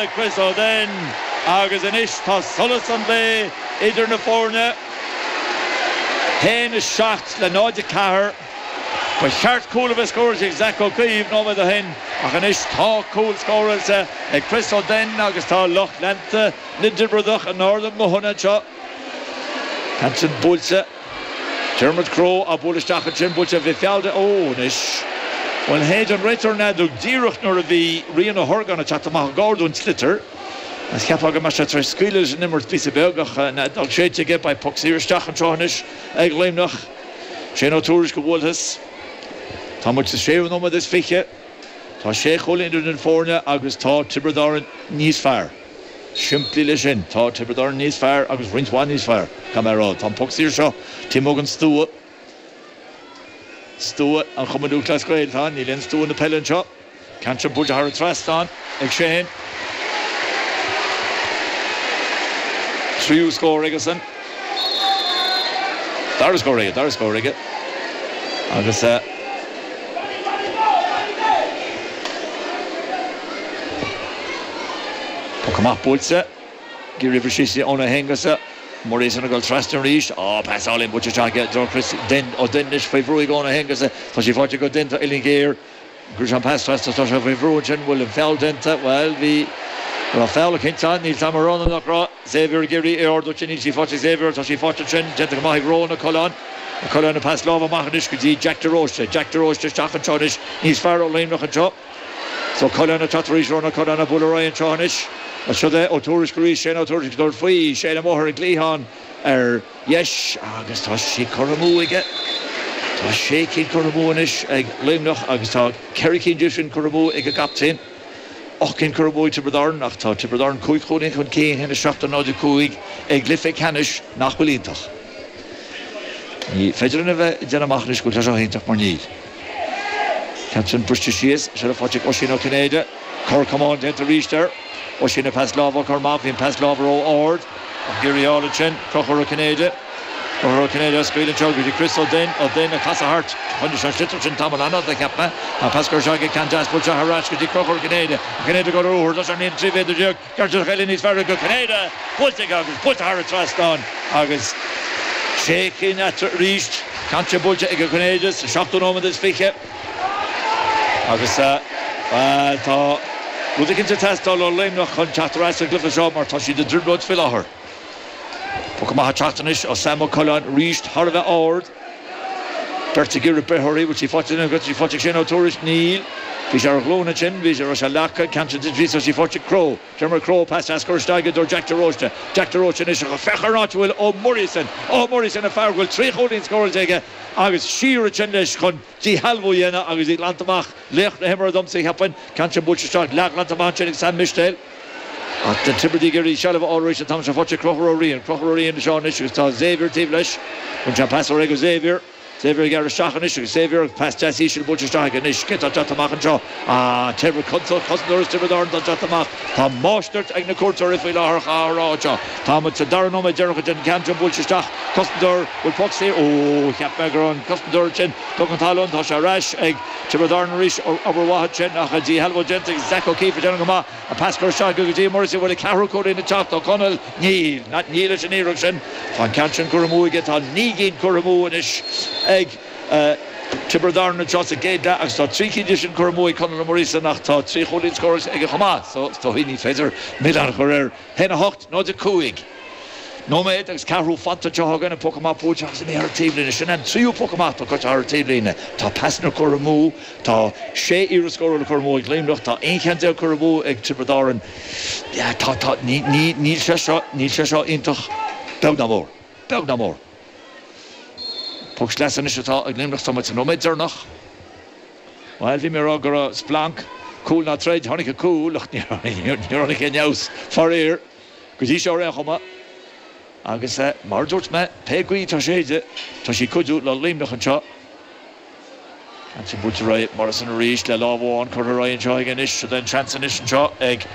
ag Chris Ó Duinn agus anois tá solas an lae idir na foirne. 1, 7 le 0, 4. Ba cheart cúl a bheith scóráilte ag Zach Ó Caoimh nóiméad ó shin ach anois tá cúl scóráilte ag Chris Ó Duinn agus tá lucht leanta na dTiobradach in ard a nguthanna anseo. Ceann sin buailte. Dermot Crowe á bualadh isteach ansin, buailte, bhí feall de, ó anois, bhuel shéid an réiteoir an fheadóg díreach nuair a bhí Rian Ó hOrgáin ag teacht amach i gar don tsliotar. Agus cheapfá go mbeadh sé tar éis scaoileadh leis an imirt píosa beag ach an fheadóg séidte aige, beidh poc saor isteach anseo anois ag Luimneach. Shane Ó Tuairisg a bhuailfeas. Tá muid sa séú nóiméad is 20. Tá sé chúilín idir na foirne agus tá Tiobraid Árann níos fearr. Simplí leis sin. Tá Tiobraid Árann níos fearr agus roinnt mhaith níos fearr, caithfidh mé a rá. Tá an poc saor seo taobh amuigh den stua. Stua an Chumainn Lúthchleas Gael atá ann. Níl aon stua na peile anseo. Ceann sin buailte thar an trasnán ag Shane. Tríú scór aigesan. Dara scór aige, dara scór aige. Agus poc amach buailte. Ag iarraidh briseadh síos Eoin Ó hAonghusa. Murison ag dul trasna arís. Á, pas álainn buailte isteach aige i dtreo Chris Dunne. Ó Duinn anois faoi bhrú ag Eoin Ó hAonghusa. Tá sí faighte ag Ó Duinn. Tá uillinn ghéar. Chuir sé an pas trasna, tá sé faoi bhrú ansin, bhfuil an feall déanta? Bhuel, bhí, raibh feall eicínt ann, níl 's a'm an raibh nó nach raibh. Xavier ag iarraidh é a ardú, níl sí faighte ag Xavier, tá sí faighte ansin, déanta go maith ag Rohan Ó Coileáin. Ó Coileáin an pas láimhe amach anois go dtí Jack de Róiste. Jack de Róiste isteach anseo anois, níos fearr ó Luimneach anseo. So Coileáin ag teacht arís, Rohan Ó Coileáin ag bualadh ar aghaidh anseo anois. Siod é Ó Tuairisg arís, Shane Ó Tuairisg ag tabhairt faoi, Shane amuigh ar an gcliathán ar. dheis agus tá sé curtha amú aige. Tá sé cinn curtha amú anois ag Luimneach agus tá ceithre cinn díobh sin curtha amú ag an gcaptaen. Ocht gcinn curtha amú ag Tiobraid Árann ach tá Tiobraid Árann cúig chúilín chun cinn, 1-7 do 0-5 i gcluiche ceannais nach bhfuil iontach. Ní féidir linn a bheith ag déanamh amach anois go bhfuil sé seo iontach mar níl. Ceann sin briste síos, seilbh faighte ag Oisín Ó Cinnéide. Cor camáin déanta arís air. Oisín an pas láimhe á chur amach. Bhí an pas láimhe ró-ard. Ach ag iarraidh a fháil ansin. Conchúr Ó Cinnéide. Conchúr Ó Cinnéide á scaoileadh anseo go dtí Chris Ó Duinn. Ó Duinn ag casadh thart. Choinnigh sé an sliotar sin tamall an-fhada, cheap mé. Tá an pas curtha isteach aige. Ceann deas buailte thar ais go dtí Conchúr Ó Cinnéide. Ó Cinnéide ag dul ar ruathar. Tá sé ar an líne 13 mhéadar. Ceart eile níos fearr go Cinnéide. Buailte aige agus buailte thar an trasnán agus sé cinn eatarthu arís. Ceann sin buailte ag Ó Cinnéide sa seachtú nóiméad is 20 agus bhuel tá rud eicínt ag teastáil ó Luimneach chun teacht ar ais sa gcluiche seo mar tá siad i dtrioblóid faoi láthair. Poc amach ag teacht anois ó Sam Ó Coileáin arís thar a bheith ard. Beirt ag iarraidh breith uirthi, bhfuil sí faighte nó tá sí faighte ag Shane Ó Tuairisg? Níl. Bhí sé ar a ghlúin ansin, bhí sé, raibh sé leagtha, ceann sin tite síos, tá sí faighte ag Crowe. Dermot Crowe, pas deas curtha isteach aige do Jack de Róiste. Jack de Róiste anois ach féach ar an áit a bhfuil Ó Muiríosain. Ó Muiríosain an fear go bhfuil trí chúilín scóráilte aige agus siar ansin leis chun díshealbhú a dhéanamh agus í glanta amach. Laoch na himeartha domsa, cheapfainn. Ceann sin buailte isteach, leathghlanta amach ansin ag Sam Mistéil. Ach na Tiobradaigh ag iarraidh seilbh a fháil arís an t-am seo faighte ag Conchúr Ó Riain. Conchúr Ó Riain anseo anois agus tá Xavier taobh leis. Bhain sé an pas ar aghaidh go Xavier. Xavier ag gearradh isteach anois agus Xavier agus pas deas íseal buailte isteach aige anois. Cé atá ag teacht amach anseo? Ah, Tiobraid, cosantóir as Tiobraid Árann atá ag teacht amach. Tá máistreacht ag na cuairteoirí faoi láthair á rá anseo. Tá muid sa dara nóiméad deireanach den ceann seo buailte isteach. Cosantóir, bhfuil poc saor? Ó, cheap mé go raibh an cosantóir ansin tugtha chun talún. Tá sé ar ais ag Tiobraid Árann arís. Obair mhaith ansin ach díshealbhú déanta ag Zach O'Keefe ag déanamh go maith. An pas curtha isteach aige go dtí Morrissey, an bhfuil an ceathrú cúilín ag teacht ó Conall? Níl. Níl leis an iarracht sin. Tá an ceann sin curtha amú aige. Tá 9 gcinn curtha amú anois ag Tiobraid Árann anseo sa gcéad leath agus tá 3 cinn de sin curtha amú ag Conall Ó Muiríosa ach tá 3 chúilín scóráilte aige chomh maith so is dóigh ní féidir milleán a chur air. 1, 8, 0, 5. Nóiméad agus ceathrú fanta anseo againn, an poc amach buailte agus imithe thar an taobhlíne. Sin an tríú poc amach atá curtha thar an taobhlíne. Tá pasanna curtha amú, tá sé iarracht scórála curtha amú ag Luimneach, tá 11 cheann curtha amú ag Tiobraid Árann. Tá, tá, ní, ní, níl sé seo, níl sé seo iontach beag ná mór. Beag ná mór. Poc sleasa anois atá ag Luimneach, tá muid sa nóiméad deireanach. Bhuel, bhí mé ag rá go raibh splanc, cúl ná troid, tháinig an cúl ach níor tháinig aon fheabhas, faraor, go dtí seo ar aon chuma. Agus mar a dúirt mé, pé gaoth atá ag séideadh, tá sí ag cuidiú le Luimneach anseo. Ansin buailte ar aghaidh Morrison arís le lámh amháin curtha ar aghaidh anseo aige anois. Seo an seans anois anseo ag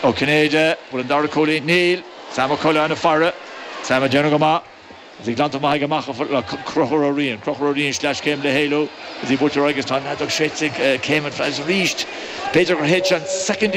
Ó Cinnéide. Bhfuil an dara cúilín? Níl. Sam Ó Coileáin ag faire. Sam ag déanamh go maith. Is í glanta maith aige amach le Conchúr Ó Riain. Conchúr Ó Riain sleaschéim le héalú. Is í buailte ar aghaidh agus tá an fheadóg séidte ag Céimeann Flags arís. B'fhéidir gur shéid sé an soicind.